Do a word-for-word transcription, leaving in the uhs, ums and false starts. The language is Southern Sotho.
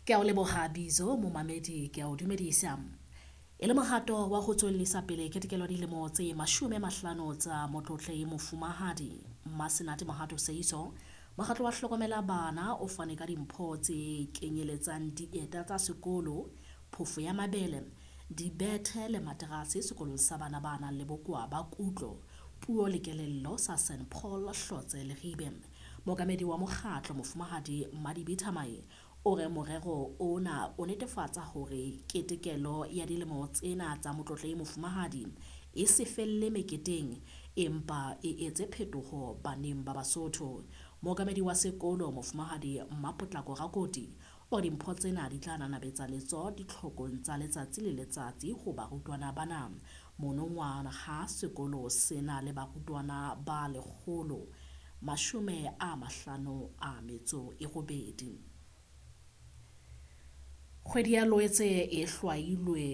Ke a o leboha Bizo momamedi, ke a o dumedisa. E le mohato wa ho tswellisa pele ketekelo dilemo tse mashome a mahlano tsa Motlotlehi Mofumahadi Mmasenate Mohato Seeiso, mokgatlo wa hlokomela bana o fane ka dimpho tse kenyeletsang dieta tsa sekolo, phofo ya mabele, dibethe le materase sekolong sa bana ba nang le bokowa ba kutlo, puo le kelello sa Saint Paul Hlotse Leribe. Mookamedi wa mokgatlo Mofumahadi Mmadibe Thamae o re morero ona o netefatsa hore ketekelo ya dilemo tsena tsa Motlotlehi Mofumahadi e se felle meketeng empa e etse phetoho baneng ba Basotho. Mookamedi wa sekolo Mofumahadi Mmapotlako Rakoti o re dimpho tsena di tla nanabetsa letsoho ditlhokong tsa letsatsi le letsatsi ho barutwana bana. Monongwaha sekolo se na le barutwana ba lekgolo mashome a mahlano a metso e robedi. Kgwedi ya Loetse e hlwailwe